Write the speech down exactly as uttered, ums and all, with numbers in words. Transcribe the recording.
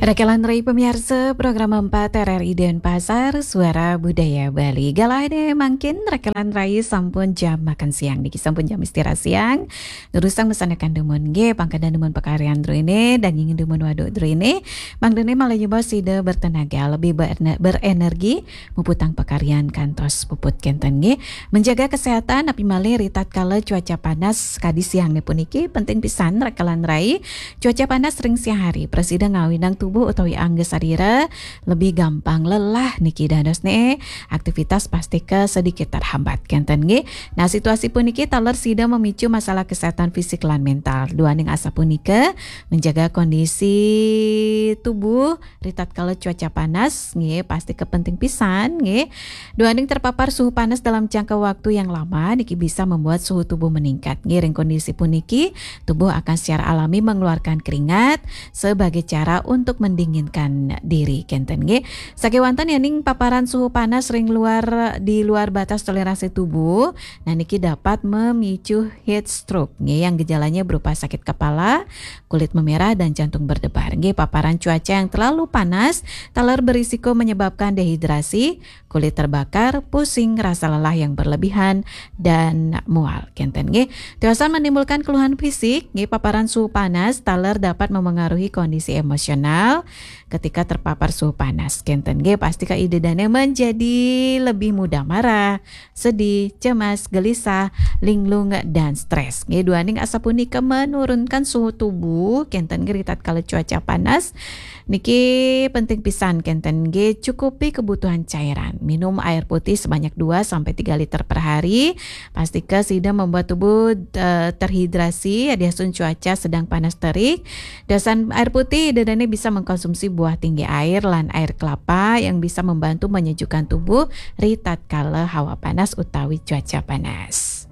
Rekelan rai pamiarsa program empat R R I Denpasar, Suara Budaya Bali. Galah deh mangkin rekelan rai sampun jam makan siang niki, sampun jam istirahat siang. Durusang mesanakan dumun nggih, pangkada dumun pakaryan druene, daging dumun waduk druene. Mangdene malih nyoba sida bertenaga, lebih berne- berenergi, muputang pakaryan kantos puput kenten nggih. Menjaga kesehatan, napi malih ritatkala cuaca panas kadi siang niki puniki penting pisan rekelan rai. Cuaca panas ring siang hari prasida ngawinang tubuh utawi angga sarira lebih gampang lelah niki dadosne aktivitas pastika sedikit terhambat kenten nggih. Nah, situasi puniki taler sida memicu masalah kesehatan fisik lan mental. Duaning asapunika, menjaga kondisi tubuh ritatkala cuaca panas nggih pastika penting pisan nggih. Duaning terpapar suhu panas dalam jangka waktu yang lama niki bisa membuat suhu tubuh meningkat. Nggih, ring kondisi puniki, tubuh akan secara alami mengeluarkan keringat sebagai cara untuk mendinginkan diri kenten nggih. Sakewanten yening paparan suhu panas ring luar, di luar batas toleransi tubuh, nah niki dapat memicu heat stroke nggih, yang gejalanya berupa sakit kepala, kulit memerah dan jantung berdebar. Nggih, paparan cuaca yang terlalu panas taler berisiko menyebabkan dehidrasi, kulit terbakar, pusing, rasa lelah yang berlebihan, dan mual kenten nggih. Tiosan menimbulkan keluhan fisik nggih, paparan suhu panas taler dapat memengaruhi kondisi emosional ketika terpapar suhu panas kenten nggih. Pastika ida dane menjadi lebih mudah marah, sedih, cemas, gelisah, linglung, dan stres nggih. Duaning asapunika menurunkan suhu tubuh kenten nggih ritatkala cuaca panas. Niki penting pisan kenten nggih, cukupi kebutuhan cairan. Minum air putih sebanyak dua sampai tiga liter per hari. Pastika sida membuat tubuh eh, terhidrasi, yadiastun cuaca sedang panas terik. Dasan air putih, ida dane bisa mengkonsumsi buah tinggi air lan air kelapa yang bisa membantu menyejukkan tubuh ritatkala hawa panas utawi cuaca panas.